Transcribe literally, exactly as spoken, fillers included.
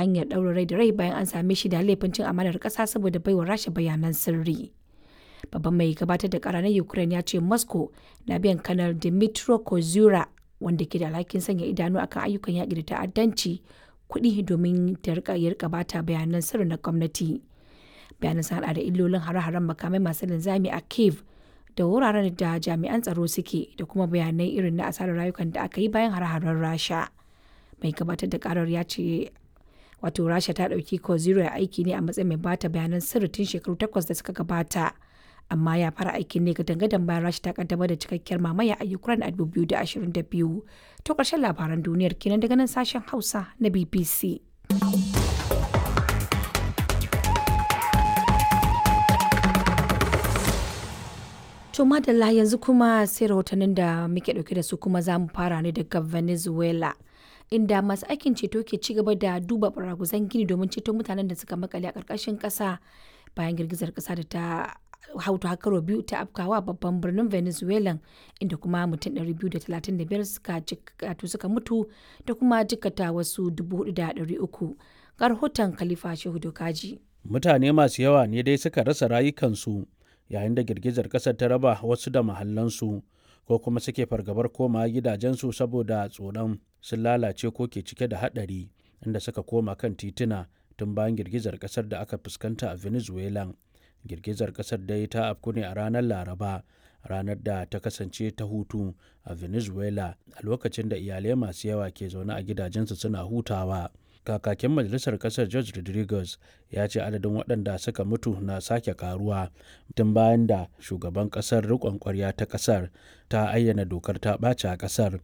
hanyar ɗaurin rai da rai bayan an same shi da laifin cin amanar ƙasa saboda baiwa Rasha bayanan sirri. Babban mai gabatar da kara na Ukraine ya ce Moscow na biyan Kanar Dmytro Kozura, wanda ke da alhakin sanya idanu akan ayyukan yaƙi da ta'addanci, kuɗi domin ta rika ya rika bata bayanan sirri na gwamnati. Bayanan sun hada da illolin hare-haren makamai masu linzami a Kiev da wuraren da jami'an tsaro suke, da kuma bayanai irin na asarar rayukan da aka yi bayan hare-haren Rasha. Mai gabatar da karar ya ce wato Rasha ta ɗauki Kozura aiki ne a matsayin mai bata bayanan sirri tun shekaru takwas da suka gabata, amma ya fara aikin ne gadan-gadan bayan Rasha ta kaddamar da cikakkiyar mamaya a Ukraine a dubu biyu da ashirin da biyu. To, ƙarshen labaran duniyar kenan daga nan sashen Hausa na B B C. To madalla, yanzu kuma sai rahotannin da muke dauke da su, kuma za mu fara ne daga Venezuela, inda masu aikin ceto ke ci gaba da duba baraguzan gini domin ceto mutanen da suka makale a ƙarƙashin ƙasa bayan girgizar ƙasa da ta hautu karo biyu ta afkawa babban birnin Venezuela, inda kuma mutum ɗari biyu da talatin da biyar suka suka mutu da kuma jikkata wasu dubu huɗu da ɗari uku. Ga rahoton Khalifa Shehu Dokaji. Mutane masu yawa ne dai suka rasa rayukansu yayin da girgizar ƙasar ta raba wasu da mahallansu ko kuma suke fargabar koma gidajensu saboda tsoron sun lalace ko ke cike da haɗari, inda suka koma kan tituna tun bayan girgizar ƙasar da aka fuskanta a Venezuela. Girgizar ƙasar dai ta afku ne a ranar Laraba, ranar da ta kasance ta hutu a Venezuela, a lokacin da iyalai masu yawa ke zaune a gidajensu suna hutawa. Kakakin majalisar kasar George Rodriguez ya ce adadin waɗanda suka mutu na sake karuwa tun bayan da shugaban kasar rikon kwarya ta kasar ta ayyana dokar ta ɓaci a kasar.